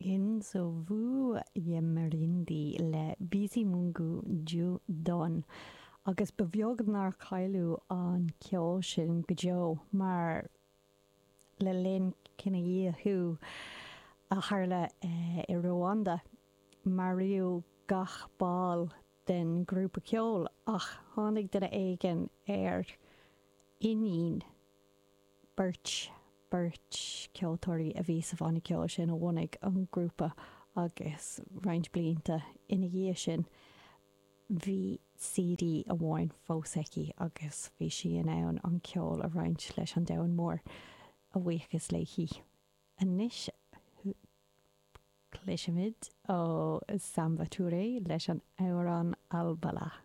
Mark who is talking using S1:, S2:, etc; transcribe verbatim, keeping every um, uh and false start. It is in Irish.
S1: Inzovu y'Imirindi le Bizimungu Dieudonné agus ba bheag nár cailleadh an ceol sin go deo mar le linn cinedhíothú a tharla i Ruanda maraíodh gach ball den ghrúpa ceoil ach tháinig duine éigin ar iníon beirt beirt ceoltóirí a bhí sa bhanna ceoil sin a bhunaigh an grúpa agus roinnt blianta ina dhiaidh sin bhí CD amháin fós aici agus bhí sí in ann an ceol a roinnt leis an domhan mór a bhuíochas léi. Anois cloisfimid ó Samba Touré leis an amhrán Albala.